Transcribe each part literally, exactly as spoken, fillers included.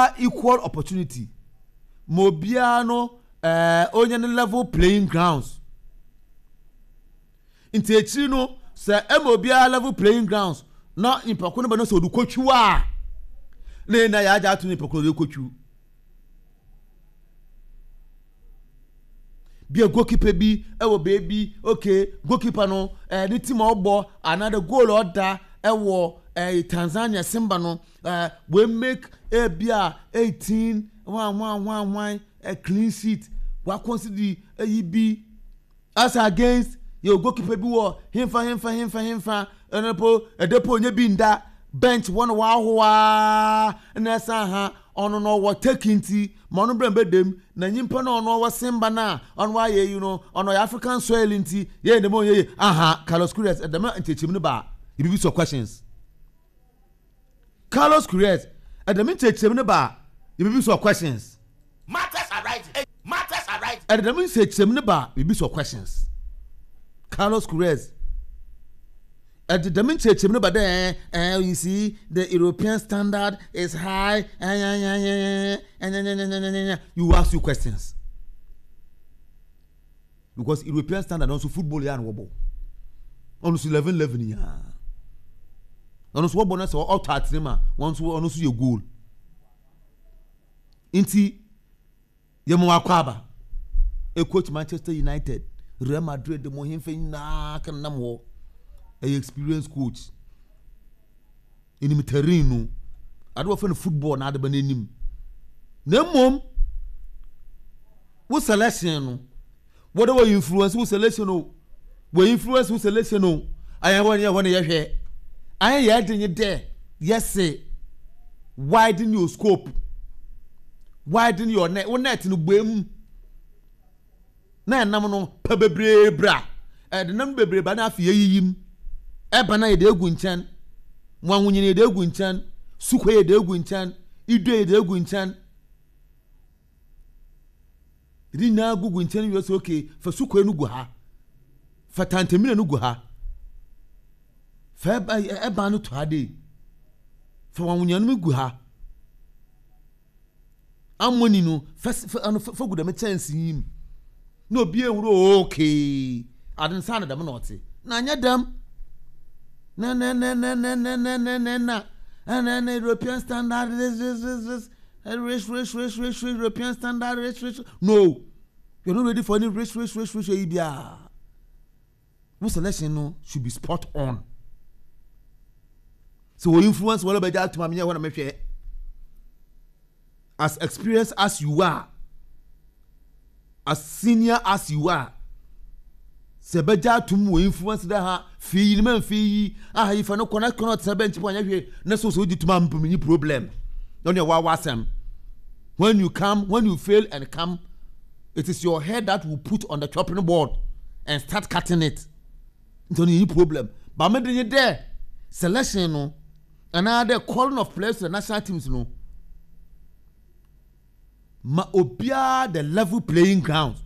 Obiara equal opportunity, ma obiara no ɛɛ onye ne level playing grounds. Nti akyiri no, sɛ ɛma obiara level playing grounds na nipa ko no bɛ no sɛ ɔde kotwiw a, na yɛn na yɛagye ato nipa ko no ɔde kotwiw. Bia goalkeeper bi ɛwɔ beebi, okay, goalkeeper no ɛɛ ne team a ɔbɔ anaa the goal ɔda ɛwɔ ɛɛ Tanzania Simba no, ɛɛ we make ebi a eighteen one one one one ɛ clean sheet, wa concede ɛyi bi as against yɛ goalkeeper bi wɔ hemfa hemfa hemfa hemfa, ɛno po ɛde po onye bi nda bench wɔn wahoa na ɛsan ha ɔno no ɔwɔ Turkey, nti ma ɔno brɛ mbɛdɛm na nyimpa no ɔno ɔwɔ Simba na ɔno ayɛ yi no, ɔno ɔyɛ African soil, nti yɛyɛ dɛm ɔnyɛ yie. Aha, Carlos Queiroz, ɛdɛm nkyɛnkyɛn no ba ebibi sɔ questions. Carlos Queiroz, ɛdɛm nkyɛnkyɛn no ba ebibi sɔ questions. Matters arising. Matters arising. Ɛdɛm nkyɛnkyɛn no ba ebibi sɔ questions. Carlos Queiroz, ɛde dɛm nkyerɛkyerɛmu no ba dɛ ɛɛ you see, the European standard is high, ɛɛ you ask you questions, because European standard nso, football yɛ ano wɔbɔ, ɔno nso eleven eleven yaa, ɔno nso wɔbɔ no sɛ ɔtɔ atene ma wɔn nso, ɔno nso yɛ goal. Nti yɛ mo akɔ aba e coach Manchester United, Real Madrid, mo hemfa nyinaa kan nam hɔ, ɛyɛ experience coach, enim terrain no, ade wɔfɛ no football na ade ba n'anim. Na mmom wo selection no, wɔde wɔ influence wo selection o, wɔ influence wo selection o, ayɛ hɔ ne yɛ hɔ ne yɛhwɛ ayɛ yɛ de nye dɛ yɛse widen your scope, widen your net, wo net no bue mu na ɛnam no pɛ bebree bra, ɛde nam bebree ba na afei yɛyiyi mu ɛba na yɛde egu nkyɛn. Mo ahonyini yɛde egu nkyɛn, sukɔ yɛde egu nkyɛn, idue yɛde egu nkyɛn, yɛde nyinaa gugu nkyɛn wie sɛ okay, fa sukɔ no gu ha, fa tantamina no gu ha, fa ɛba ɛban no to ha de, fa wɔn ahonyini no gu ha, amoni no fa fa ɛno fa gu dɛm kyɛnse yi mu na obi ehuru. Okay, ade nsa na dɛm na ɔte na anyɛ dɛm na na na na na na na na na na na na European standard, this this this this rich rich rich rich rich European standard, rich rich. No, you are not ready for any rich rich rich rich eyi bia. Wo selection no should be spot on. So wɔ influence wɔn bɛgya atuma mi nyɛ hɔ na mehwɛ. As experienced as you are, as senior as you are, sɛ bɛgya atum wɔ influence dɛ ha fii yi ne ma nfii yi aha yi fa no kɔ na kɔ na ɔtena bench po anyɛ hwee na so so wogye tuma mpem nyi problem na ɔne ɛwɔ awɔ asɛm. When you come, when you fail and come, it is your head that will put on the chopping board and start cutting it. Nti ɔno yɛ problem ba me de nye dɛ selection no anaa dɛ calling of players to the national teams no, ma obiara the level playing ground.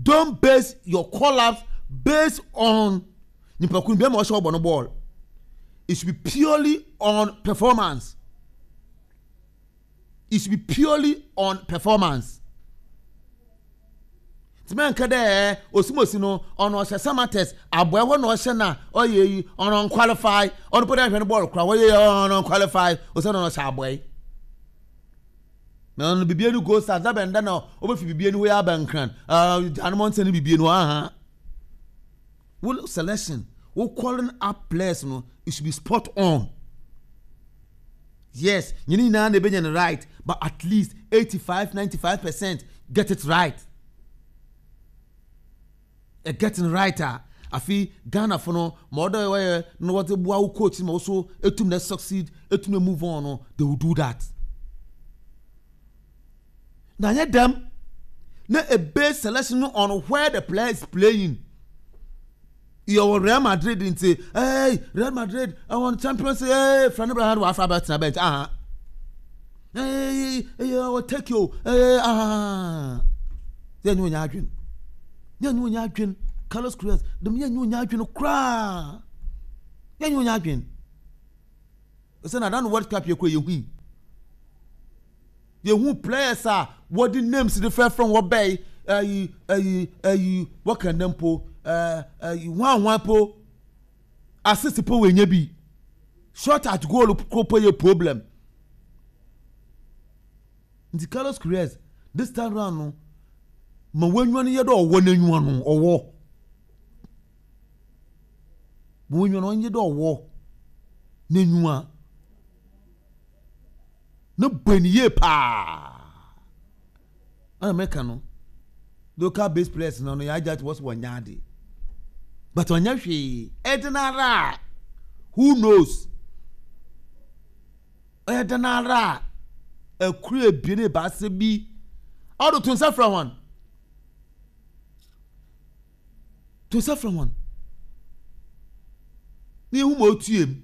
Don't base your call-ups based on nipa kun bi ma ɔhyɛ ɔbɔ no ball. It should be purely on performance. It should be purely on performance. Tìmɛ nka dɛ osimosi no, ɔno ɔhyɛ Samartex aboa hɔ na ɔhyɛ na ɔyɛ yi, ɔno unqualify, ɔno pɛ dɛ ɛhwɛ no bɔɔl kora wɔyɛ yi, ɔno unqualify ɔsɛ ɔno ɔhyɛ aboa yi na ɔno bibie no Gold Stars dabɛn da na ɔbɛfi bibie no hɔ yɛ abɛnkran ɛɛ gyanum ɔnsɛn no bibie no aha. Wo selection, wo calling up players no, it should be spot on. Yes, nyɛ ne nyinaa na ebenya no right, but at least eighty five, ninety five percent, get it right. Ɛ getting right a, afi Ghana fo no ma ɔdɔ wɔyɛ na wɔde boa wo coach ma wɔso etum na succeed, etum na move on no, they will do that. Na nyɛ dɛm na a base selection no on where the player is playing. Yɛwɔ Real Madrid nti, hey, Real Madrid ɛwɔ Champions, hey, Fred Abraham wà afa abɛtena bench aha, hey, hey, ɔwɔ Turkey o, hey, aha, yɛn nyɛ onye adwene, yɛn nyɛ onye adwene. Carlos Queiroz dɛm, yɛn nyɛ onye adwene koraa, yɛn nyɛ onye adwene. Ɛsɛ na adan World Cup yɛ kura yɛ hui. Yɛhu players a wɔde names de frɛfrɛ wɔ bɛyi ɛyi ɛyi ɛyi wɔka ne mpo ɛɛ ɛyi hwan hwan po assist po wɔ enya bi, shot at goal ko po yɛ problem. Nti Carlos Queiroz, this time round no, ma wɔnwa no yɛ dɛ ɔwɔ n'enyiwa no, ɔwɔ ma wɔnwa no ɔnyɛ dɛ ɔwɔ n'enyiwa ne bɔ ne yie paa. Ɛna mɛka no, local based players no no yɛ agya wɔ so wɔnyɛ ade, but ɔnyɛ hwee. Ɛde who knows, ɔyɛ den ara a ɛkuru ebien ebaasa bi ɔdo to nsa frɛ wɔn, to nsa frɛ wɔn ne ehu ma otue mu.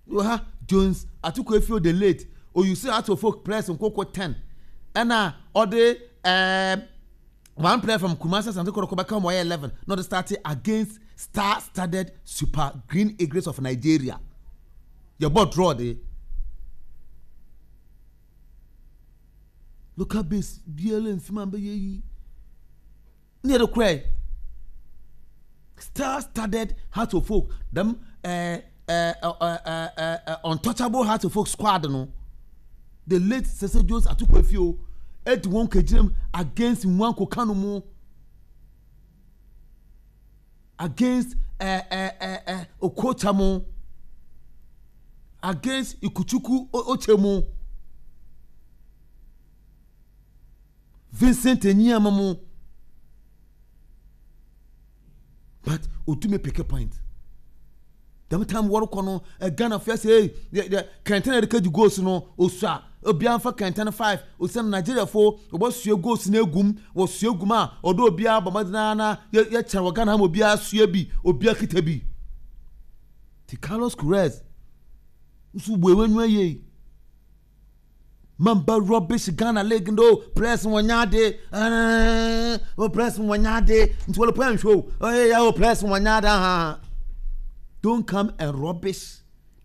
Wɔ ha Jones Atiko Efio the late oyusi atofo players nkoko ten, ɛna ɔde ɛɛm one player from Kumasi Asante Kotoko bɛka wɔn, ɔyɛ eleven, na ɔde start against star studded Super Green Eagles of Nigeria. Yɛbɔ draw de local base biara nfim a bɛyɛ yi ne yɛde kora star studded Hearts of Oak, dɛm ɛɛ ɛɛ ɛɛ ɛɛ untouchable Hearts of Oak squad no, the late Sese Jones Atiko Efio edi wɔn kegyina mu against Nwanko Kanu mu, against ɛɛ ɛɛ ɛɛ Okocha mu, against Ikuchuku Oche mu, Vincent Enyiama mu, but otumi pick point. Dɛm time wɔrekɔ no, Ghana fɛ sɛ ee kɛntɛn a yɛde kagye goals no osua, obiara nfa kɛntɛn five osan Nigeria fo wɔbɛsua goals no egum, wɔsua gum a ɔdɔ obiara bɔ mmɔden na yɛ yɛkyɛn wɔ Ghana ha ma obiara sua bi, obiara kita bi. Ti Carlos Queiroz nso bu ewe nua yie mamba rubbish Ghana league no players wɔnya ade ɛɛ o players wɔnya ade nti wɔle pɔn nhwɛ o ɔyɛ ya o players wɔnya ade ha. Don't come and rubbish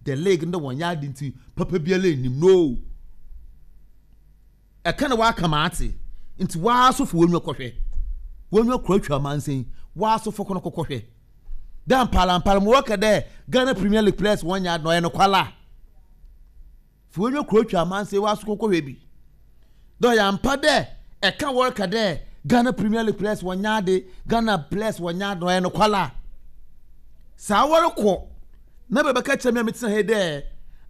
the league no, wɔnya ade nti papa biara enim no. Ɛka na waka ma ate nti waa so fo wɔnwa kɔhwɛ wɔnwa kura atwa amansan waa so fo kɔnɔ kɔkɔhwɛ dan mpalampala mu wɔka dɛ Ghana Premier League players wɔnya ade na ɔyɛ no kwala fo wɔnwa kura atwa amansan waa so kɔkɔhwɛ bi dɛ ɔyɛ ampa dɛ ɛka wɔreka dɛ Ghana Premier League players wɔnya ade, Ghana players wɔnya ade na ɔyɛ no kwala saa. Wɔrekɔ na bɛbɛka kyerɛ me a metena ha dɛ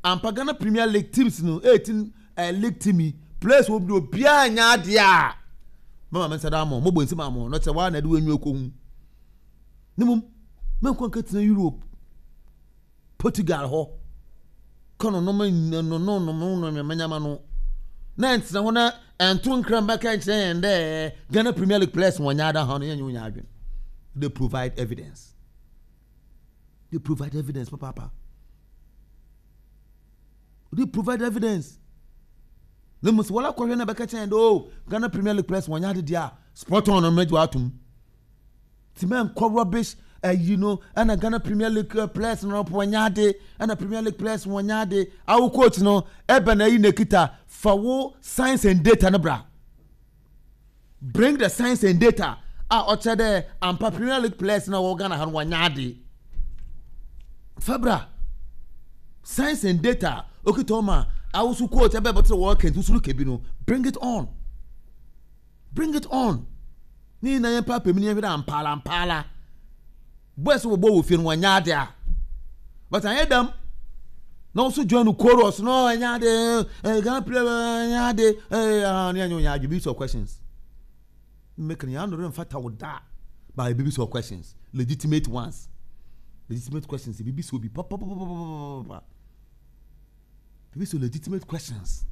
ampa Ghana Premier League teams no, eighteen uh, league team yi players wɔ bi obiara nya adeɛ a mama me nsa da ama mo bɔ nsim ama no kyerɛ waa na ɛde wɔn enyi kɔ hu ne mom mɛnkɔ nka tena Europe, Portugal hɔ kɔ no nom no no no no no nyama no na ntena hɔ na ɛnto nkran bɛka nkyerɛ yɛn dɛ Ghana Premier League players wɔn nya ada hɔ no. Yɛn nyɛ wɔn adwene. They provide evidence, they provide evidence papaapa, they provide evidence. Na mo sɛ wɔn akɔhwɛ na bɛka kyerɛ yɛn dɛ o Ghana Premier League players wɔn nya ade deɛ a spot on no mɛgye atum ti mɛ nkɔ rubbish ɛyi no. Ɛna Ghana Premier League uh, players no wɔn nya ade, ɛna Premier League players wɔn nya ade. Awo coach no ɛbɛn na ɛyi na ekita fa wo science and data no bra. Bring the science and data a ɔkyerɛ dɛ ampa Premier League players na wɔwɔ Ghana ha no wɔn nya ade. Fabra science and data okita ɔma awoso coach ɛbɛ bɛtɛ wɔ kɛntɛ soro kebi no. Bring it on, bring it on. Ne nyinaa yɛn paapa mu ne yɛn hwɛ dɛ ampaala ampaala boys wɔ bɔ wɔ fie no wɔn nya ade a, but anyɛ dɛm na wɔn nso join the chorus no, ɛnya ade, ɛɛ Ghana player ɛnya ade, ɛɛ ah ne yɛn nyɛ adwe bi sɔ questions mmeka ne yɛn ano remfata wo da, but ebi bi sɔ questions, legitimate ones, legitimate questions ebi bi sɔ obi papapapapapa ebi sɔ legitimate questions.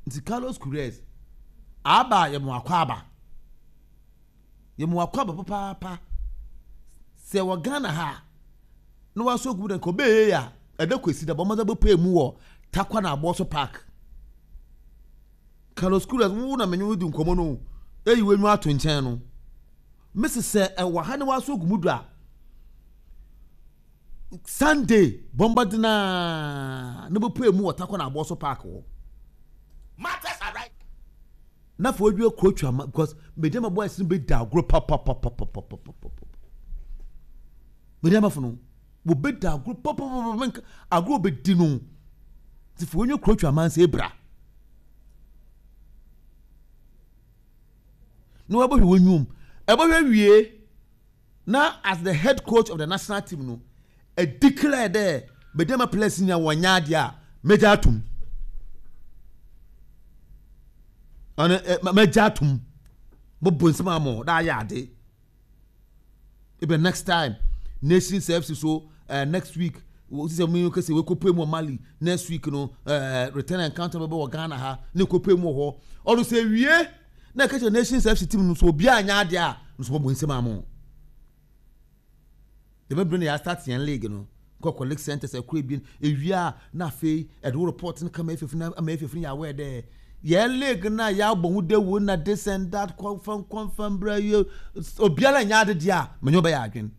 Nti Carlos Queiroz aba, yɛ mo akɔ aba, yɛ mo akɔ aba papaapa. Sɛ wɔ Ghana ha na wasɔ gu dɛ nka ɔbɛyɛ a ɛdɛ kwesi dɛ bɔmmɔdɛ bɛpɛ mu wɔ Takwa na Abɔso Park. Carlos Queiroz, wo na menye wo di nkɔmmɔ no, eyi w'enyi ato nkyɛn no mesi sɛ ɛwɔ ha ne wasɔ gu mu do a Sunday bɔmbɔden a na bɛpue mu wɔ Takɔ na Abɔso Park hɔ. Matters arise. Na afei wadua coach ama because Medeama boys no bɛdi agorɔ papapapapapapapa. Medeama fo no wɔbɛdi agorɔ papapapa, agorɔ bɛdi no nti fo wɔnyɛ coach ama nsɛ ebra na wɔbɛhwɛ wɔn nwom ɛbɛhwɛ wie na as the head coach of the national team no a declare dɛ Medeama players nyinaa wɔnyɛ adeɛ a mɛgya atom ɔno ɛ mɛgya atom bɔbɔ nsɛm ama ɔda ayɛ ade ebe next time Nations F C so uh, next week sisɛ mu kɛse wekɔpue mu wɔ Mali next week no uh, return encounter bɛbɛ wɔ Ghana ha ne kɔpue mu wɔ hɔ ɔno sɛ wie na ɛka kyerɛ Nations F C team no so obiara nyɛ adeɛ a nso bɔbɔ nsɛm ama dɛmɛ bere na yɛ start yɛn league no kɔkɔ league centers ɛkɔ ebien ewia na afei ɛde wo report no kama efefe na ama efefe yɛ aware dɛ yɛn league na yɛabɔ ho dewo na this and that confirm confirm brɛ yɛ obiara nyɛ ade deɛ a mɛ nyɛ ɔbɛyɛ adwene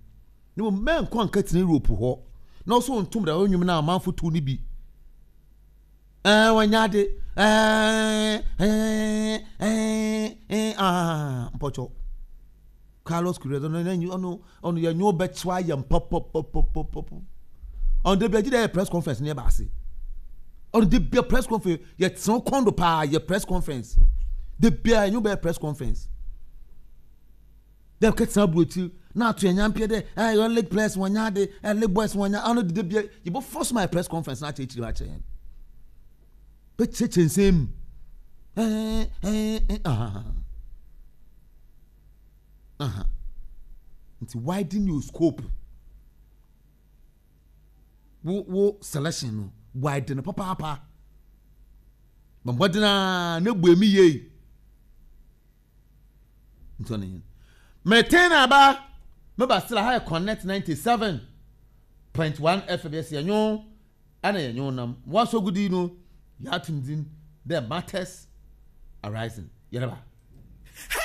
ne mo mɛ nkɔ nka tena Europe hɔ na ɔso ntom da ɔnwom na amanfo tu ne bi ɛɛ wɔnyɛ ade ɛɛ ɛɛ ɛɛ ɛɛ aa mpɔtɔ Carlos Queiroz ɔno ɔno ɔno yɛ nyɛ ɔbɛkyewa ayɛ mpɔpɔpɔpɔpɔpɔ ɔno de bi agye dɛ yɛ press conference ne yɛ baase ɔno de bia press conference yɛ tena kɔndo paa yɛ press conference de bia yɛ bɛ press conference dɛ kɛtena aburokyi na ato yɛn nyampeɛ dɛ ɛɛ yɛ league players wɔn nya ade ɛɛ league boys wɔn nya ɔno de de bia yɛ bɔ force my press conference na akyerɛkyerɛ akyerɛ yɛn bɛ kyerɛkyerɛ nsɛm ɛɛ ɛɛ ɛɛ aha aha nti widen your scope wo wo selection no widen papaapa bɔnbɔdena ne bu emi yie nti ɔno yɛn mɛtɛn na aba mɛba sila ha yɛ Connect ninety seven point one F M yɛ si ɛnyo ɛna yɛ nyo nam waso gudi no yɛ atum din the matters arising yɛrɛ ba.